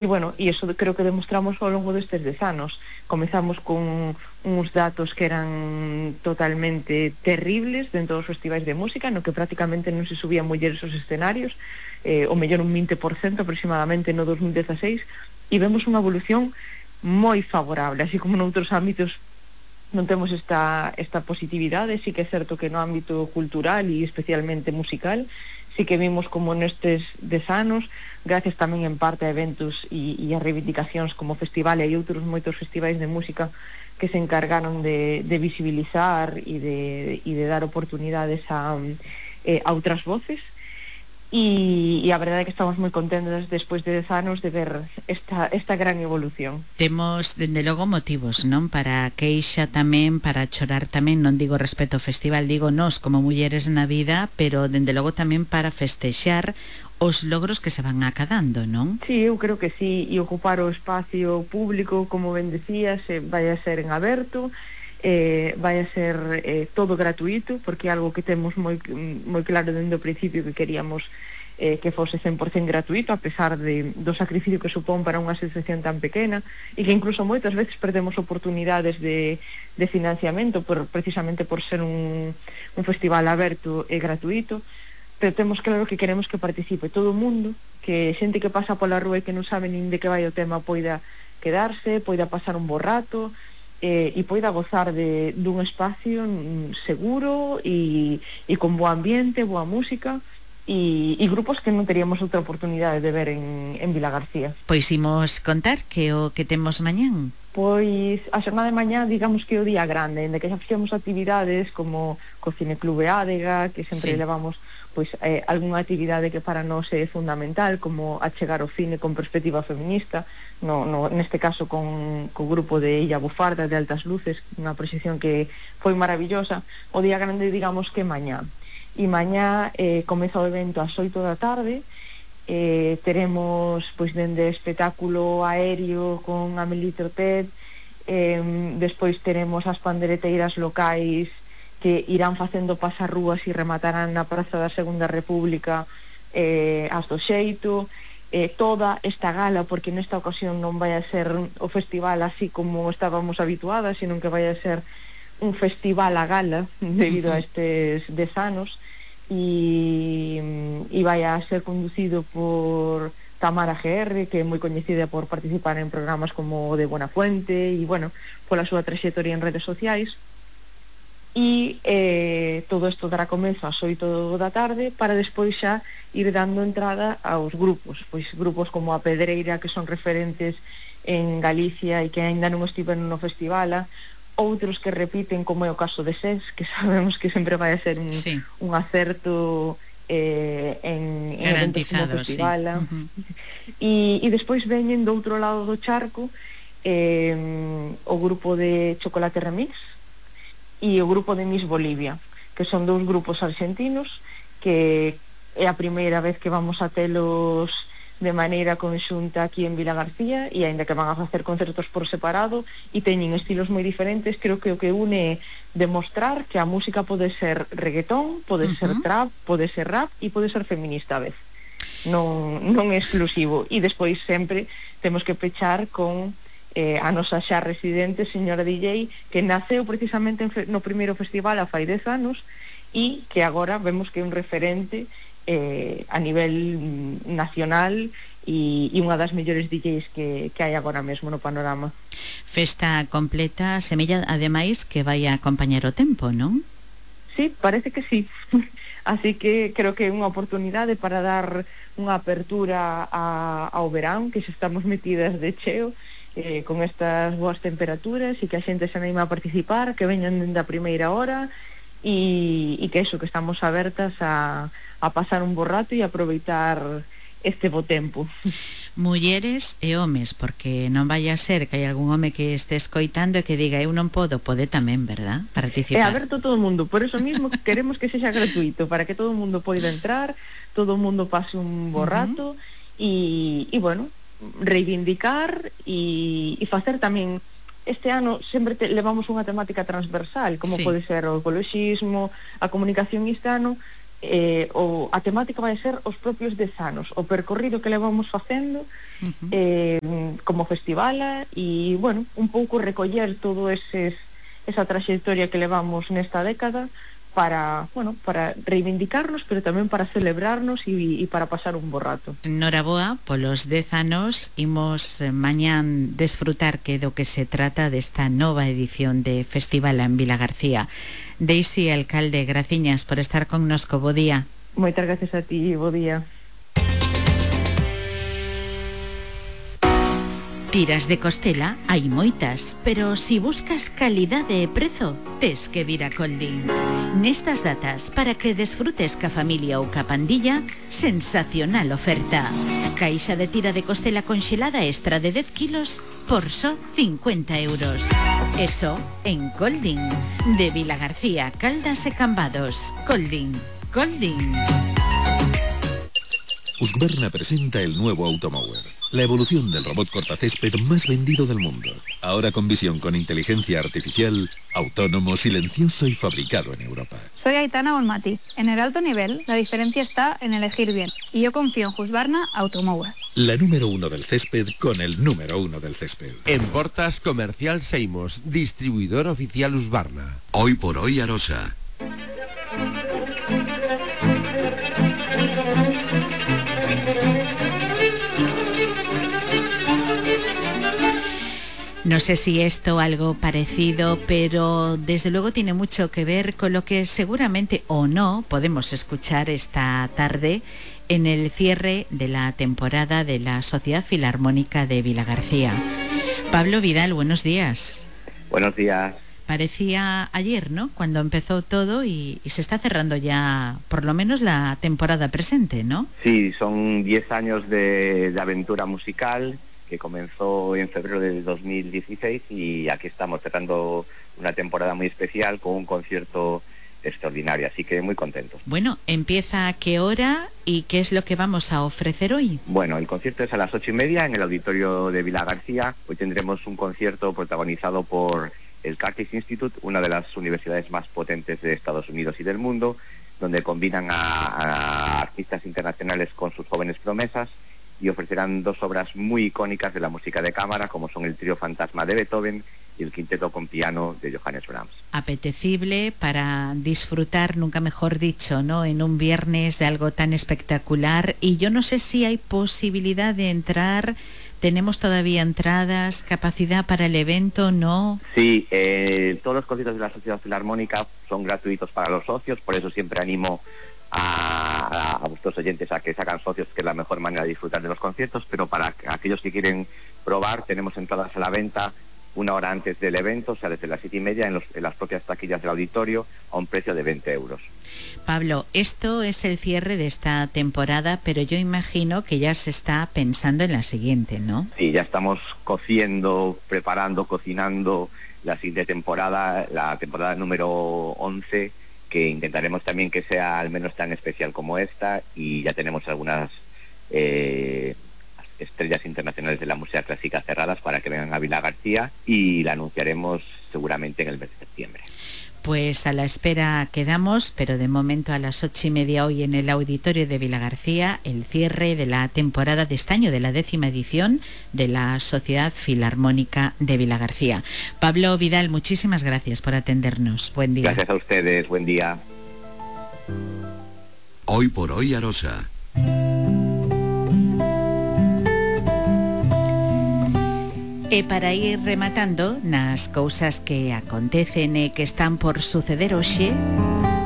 E, bueno, e iso creo que demostramos ao longo destes 10 anos. Comezamos con uns datos que eran totalmente terribles dentro dos festivais de música, no que prácticamente non se subían mulleres aos escenarios, o mellor un 20% aproximadamente no 2016, e vemos unha evolución moi favorable, así como noutros ámbitos non temos esta positividade. Sí que é certo que no ámbito cultural e especialmente musical sí que vimos como nestes 10 anos, gracias tamén en parte a eventos e a reivindicacións como festival e outros moitos festivais de música que se encargaron de visibilizar e de dar oportunidades a outras voces. E a verdade é que estamos moi contentas despois de 10 anos de ver esta gran evolución. Temos, dende logo, motivos, non? Para a queixa tamén, para chorar tamén, non digo respecto ao festival, digo nós como mulleres na vida, pero dende logo tamén para festexar os logros que se van acadando, non? Sí, eu creo que sí, e ocupar o espacio público, como ben decías, vai a ser en aberto, vai a ser todo gratuito, porque é algo que temos moi claro dende o principio que queríamos que fose 100% gratuito, a pesar do sacrificio que supón para unha asociación tan pequena, e que incluso moitas veces perdemos oportunidades de financiamento precisamente por ser un festival aberto e gratuito. Pero temos claro que queremos que participe todo o mundo, que xente que pasa pola rúa e que non sabe nin de que vai o tema poida quedarse, poida pasar un bo rato, e poida gozar dun espacio seguro e con bo ambiente, boa música, e grupos que non teríamos outra oportunidade de ver en Vilagarcía. Pois imos contar que o que temos mañán. Pois a xornada de mañá, digamos que é o día grande, en que xa fixemos actividades como co Cineclube Ádega, que sempre levamos pois algunha actividade que para nós é fundamental, como achegar o cine con perspectiva feminista, neste caso co grupo de Illa Bufarda de Altas Luces, unha proxección que foi maravillosa. O día grande, digamos que mañá. E mañá comeza o evento ás 8 da tarde. Teremos pois dende espectáculo aéreo con Amélie Trotet, despois teremos as pandereteiras locais que irán facendo pasarrúas e rematarán na Praza da Segunda República as do xeito, toda esta gala, porque nesta ocasión non vai a ser o festival así como estábamos habituadas, sino que vai a ser un festival a gala debido a estes 10 anos, e vai a ser conducido por Tamara GR, que é moi coñecida por participar en programas como o de Buenafuente e, bueno, pola súa traxectoria en redes sociais. E todo isto dará comezo ás 8 da tarde para despois xa ir dando entrada aos grupos, pois grupos como a Pedreira, que son referentes en Galicia e que aínda non estiveron no festival, outros que repiten, como é o caso de SES, que sabemos que sempre vai a ser un acerto en eventos como festival. E despois veñen do outro lado do charco o grupo de Chocolate Remix e o grupo de Miss Bolivia, que son dous grupos argentinos que é a primeira vez que vamos a telos de maneira conxunta aquí en Vilagarcía, e aínda que van a facer concertos por separado e teñen estilos moi diferentes, creo que o que une é demostrar que a música pode ser reggaetón, pode ser trap, pode ser rap e pode ser feminista a vez. Non é exclusivo. E despois sempre temos que pechar con a nosa xa residente señora DJ, que naceu precisamente no primeiro festival a fai 10 anos e que agora vemos que é un referente a nivel nacional e unha das mellores DJs que hai agora mesmo no panorama. Festa completa, semella ademais que vai a acompañar o tempo, non? Sí, parece que sí. Así que creo que é unha oportunidade para dar unha apertura ao verán, que xa estamos metidas de cheo con estas boas temperaturas, e que a xente se anima a participar, que veñan dende a primeira hora, e que eso, que estamos abertas a pasar un bo rato e aproveitar este bo tempo. Mulleres e homes, porque non vai a ser que hai algún home que este escoitando e que diga eu non podo, pode tamén, verdad? Participar. É aberto todo o mundo, por eso mismo queremos que sexa gratuito, para que todo o mundo poida entrar, todo o mundo pase un bo rato e bueno, reivindicar e facer tamén. Este ano sempre levamos unha temática transversal, como pode ser o ecoloxismo, a comunicación. Este ano a temática vai ser os propios 10 anos, o percorrido que levamos facendo como festivala, e, bueno, un pouco recoller todo esa traxectoria que levamos nesta década para reivindicarnos, pero tamén para celebrarnos e para pasar un bo rato. Noraboa, polos 10 anos, imos mañán desfrutar que do que se trata desta nova edición de Festival en Vilagarcía. Daisy, alcalde, graciñas por estar connosco, bo día. Moitas gracias a ti, bo día. Tiras de costela hai moitas, pero si buscas calidade e prezo, tes que vir a Colding. Nestas datas, para que desfrutes ca familia ou ca pandilla, sensacional oferta. Caixa de tira de costela conxelada extra de 10 kilos por só 50 euros. Eso en Colding. De Vilagarcía, Caldas e Cambados. Colding. Husqvarna presenta el nuevo Automower, la evolución del robot cortacésped más vendido del mundo. Ahora con visión con inteligencia artificial, autónomo, silencioso y fabricado en Europa. Soy Aitana Bonmati. En el alto nivel, la diferencia está en elegir bien. Y yo confío en Husqvarna Automower. La número 1 del césped con el número 1 del césped. En Portas Comercial Seimos, distribuidor oficial Husqvarna. Hoy por hoy Arosa. No sé si esto algo parecido, pero desde luego tiene mucho que ver con lo que seguramente o no podemos escuchar esta tarde en el cierre de la temporada de la Sociedad Filarmónica de Vilagarcía. Pablo Vidal, buenos días. Buenos días. Parecía ayer, ¿no?, cuando empezó todo y se está cerrando ya por lo menos la temporada presente, ¿no? Sí, son 10 años de aventura musical que comenzó en febrero de 2016 y aquí estamos cerrando una temporada muy especial con un concierto extraordinario, así que muy contentos. Bueno, ¿empieza a qué hora y qué es lo que vamos a ofrecer hoy? Bueno, el concierto es a las 8:30 en el auditorio de Vilagarcía. Hoy tendremos un concierto protagonizado por el Curtis Institute, una de las universidades más potentes de Estados Unidos y del mundo, donde combinan a artistas internacionales con sus jóvenes promesas, y ofrecerán 2 obras muy icónicas de la música de cámara, como son el trío Fantasma de Beethoven y el quinteto con piano de Johannes Brahms. Apetecible para disfrutar, nunca mejor dicho, ¿no?, en un viernes de algo tan espectacular. Y yo no sé si hay posibilidad de entrar. ¿Tenemos todavía entradas, capacidad para el evento, no? Sí, todos los conciertos de la Sociedad Filarmónica son gratuitos para los socios, por eso siempre animo a vuestros oyentes a que se hagan socios, que es la mejor manera de disfrutar de los conciertos, pero para aquellos que quieren probar, tenemos entradas a la venta 1 hora antes del evento, o sea, desde las 7:30 en las propias taquillas del auditorio, a un precio de 20 euros. Pablo, esto es el cierre de esta temporada, pero yo imagino que ya se está pensando en la siguiente, ¿no? Sí, ya estamos cocinando la siguiente temporada, la temporada número 11, que intentaremos también que sea al menos tan especial como esta, y ya tenemos algunas estrellas internacionales de la música clásica cerradas para que vengan a Vilagarcía, y la anunciaremos seguramente en el mes de septiembre. Pues a la espera quedamos, pero de momento a las 8:30 hoy en el auditorio de Vilagarcía, el cierre de la temporada de este año, de la 10ª edición de la Sociedad Filarmónica de Vilagarcía. Pablo Vidal, muchísimas gracias por atendernos. Buen día. Gracias a ustedes, buen día. Hoy por hoy Arosa. E para ir rematando nas cousas que acontecen e que están por suceder hoxe,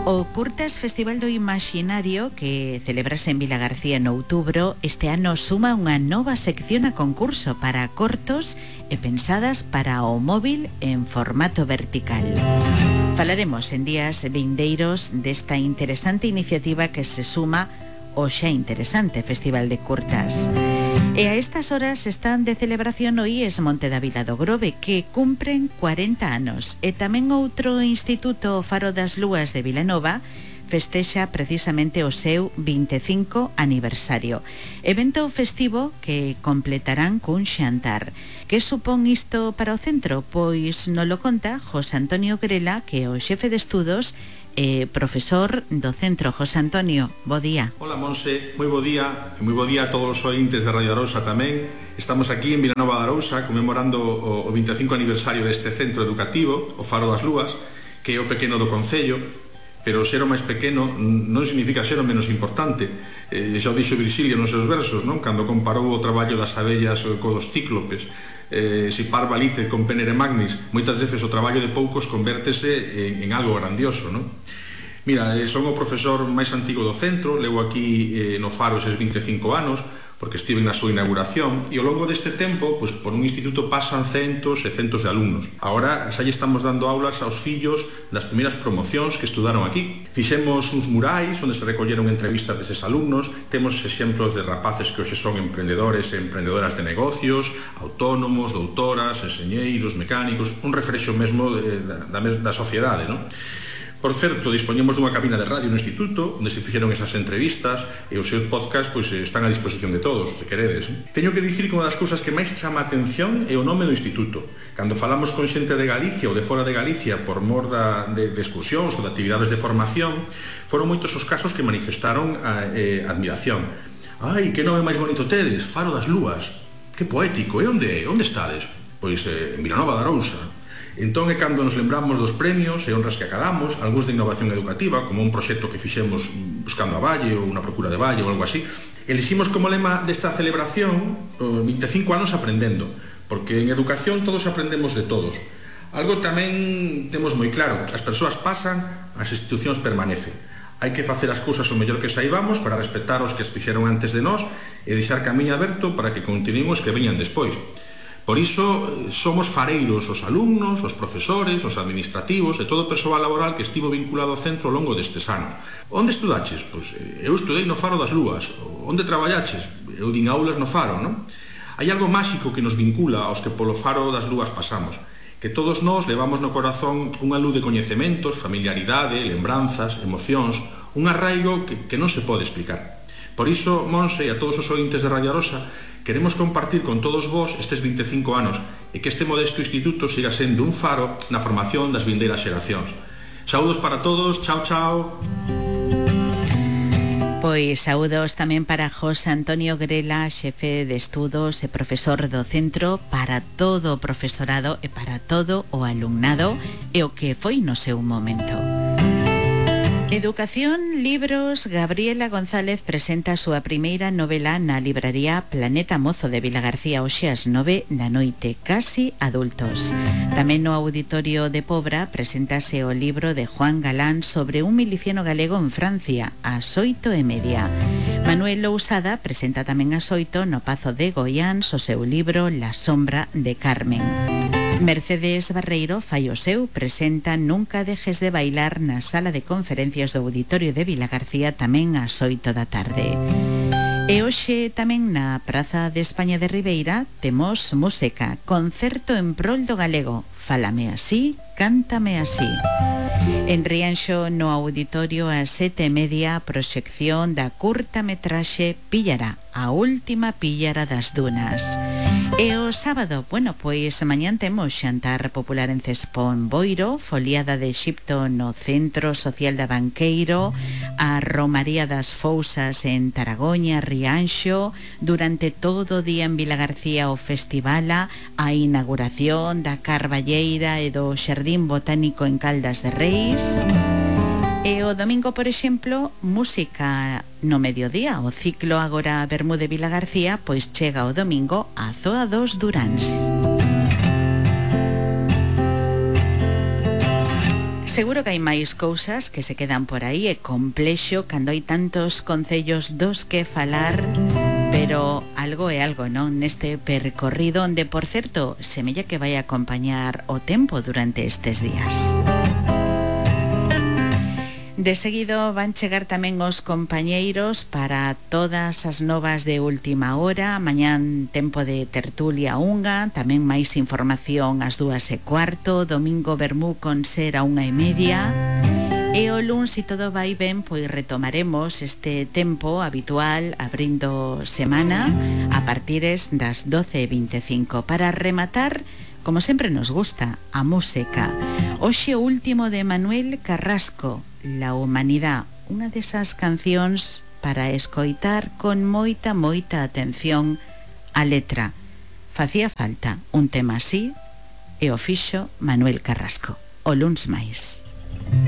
o Curtas Festival do Imaxinario, que celebrase en Vilagarcía en outubro, este ano suma unha nova sección a concurso para cortos e pensadas para o móvil en formato vertical. Falaremos en días vindeiros desta interesante iniciativa que se suma ao xa interesante Festival de Curtas. E a estas horas están de celebración o IES Monte da Vila do Grove, que cumpren 40 anos. E tamén outro instituto, o Faro das Lúas de Vilanova, festexa precisamente o seu 25 aniversario. Evento festivo que completarán cun xantar. Que supón isto para o centro? Pois nolo conta José Antonio Grela, que é o xefe de estudos profesor do Centro. José Antonio, bo día. Hola Monse, moi bo día, e moi bo día a todos os ointes de Radio Arousa tamén. Estamos aquí en Vilanova de Arousa conmemorando o 25 aniversario deste centro educativo, o Faro das Lúas, que é o pequeno do Concello, pero ser o máis pequeno non significa ser o menos importante. Xa o dixo Virgilio nos seus versos, non? Cando comparou o traballo das abellas co dos cíclopes. Si parva lite con penere magnis, moitas veces o traballo de poucos convértese en algo grandioso, non? Mira, son o profesor máis antigo do centro, levo aquí no Faro eses 25 anos, porque estive na súa inauguración, e ao longo deste tempo, pois, por un instituto pasan centos e centos de alumnos. Agora xa lle estamos dando aulas aos fillos das primeiras promocións que estudaron aquí. Fixemos uns murais onde se recolleron entrevistas deses alumnos, temos exemplos de rapaces que hoxe son emprendedores e emprendedoras de negocios, autónomos, doutoras, enxeñeiros, mecánicos, un reflexo mesmo da sociedade, non? Por certo, dispoñemos dunha cabina de radio no instituto onde se fixeron esas entrevistas e os seus podcasts pois, están a disposición de todos, se queredes. Teño que dicir que unha das cousas que máis chama a atención é o nome do instituto. Cando falamos con xente de Galicia ou de fora de Galicia por mor de excursións ou de actividades de formación, foron moitos os casos que manifestaron admiración. Ai, que nome máis bonito tedes, Faro das Lúas. Que poético, e onde estades? Pois en Vilanova de Arousa. Entón é cando nos lembramos dos premios e honras que acadamos, algúns de innovación educativa, como un proxecto que fixemos buscando a Valle ou unha procura de Valle ou algo así. Eliximos como lema desta celebración 25 anos aprendendo, porque en educación todos aprendemos de todos. Algo tamén temos moi claro, as persoas pasan, as institucións permanecen. Hai que facer as cousas o mellor que saibamos para respetar os que as fixeron antes de nós e deixar camiño aberto para que continúen os que veñan despois. Por iso, somos fareiros os alumnos, os profesores, os administrativos e todo o persoal laboral que estivo vinculado ao centro ao longo destes anos. Onde estudaches? Pois eu estudei no Faro das Lúas. Onde traballaches? Eu din aulas no Faro, non? Hai algo máxico que nos vincula aos que polo Faro das Lúas pasamos, que todos nós levamos no corazón unha luz de coñecementos, familiaridade, lembranzas, emocións, un arraigo que non se pode explicar. Por iso, Monse e a todos os ointes de Radio Arousa, queremos compartir con todos vos estes 25 anos e que este modesto instituto siga sendo un faro na formación das vindeiras xeracións. Saúdos para todos, chao, chao. Pois saúdos tamén para José Antonio Grela, xefe de estudos e profesor do centro, para todo o profesorado e para todo o alumnado e o que foi no seu momento. Educación, libros. Gabriela González presenta a súa primeira novela na libraría Planeta Mozo de Vilagarcía hoxe ás 9 da noite, Casi adultos. Tamén no Auditorio de Pobra preséntase o libro de Juan Galán sobre un miliciano galego en Francia, ás 8:30. Manuel Lousada presenta tamén ás 8 no Pazo de Goiáns o seu libro La sombra de Carmen. Mercedes Barreiro fai o seu, presenta Nunca dejes de bailar na sala de conferencias do Auditorio de Vilagarcía tamén ás 8 da tarde. E hoxe tamén na Praza de España de Ribeira temos música, concerto en prol do galego, Fálame así, cántame así. En Rianxo, no Auditorio ás 7:30, proxección da curta metraxe Píllara, a última píllara das dunas. E o sábado, pois mañán temos xantar popular en Cespón Boiro, foliada de Exipto no Centro Social da Banqueiro, a Romaría das Fousas en Taragoña, Rianxo, durante todo o día en Vilagarcía o Festivala, a inauguración da Carballeira e do Xardín Botánico en Caldas de Reis. E o domingo, por exemplo, música no mediodía. O ciclo Agora Bermúdez Vilagarcía pois chega o domingo a Zoa dos Duráns. Seguro que hai máis cousas que se quedan por aí, é complexo cando hai tantos concellos dos que falar, pero algo é algo, non? Neste percorrido onde, por certo, semella que vai acompañar o tempo durante estes días. De seguido van chegar tamén os compañeiros para todas as novas de última hora. Mañán tempo de tertulia unga, tamén máis información ás 2:15, domingo vermú con ser a 1:30. E o luns, se todo vai ben, pois retomaremos este tempo habitual abrindo semana a partires das 12:25 para rematar, como sempre nos gusta, a música. Hoxe o último de Manuel Carrasco, La Humanidad, unha desas cancións para escoitar con moita atención a letra. Facía falta un tema así e o fixo Manuel Carrasco. O luns máis.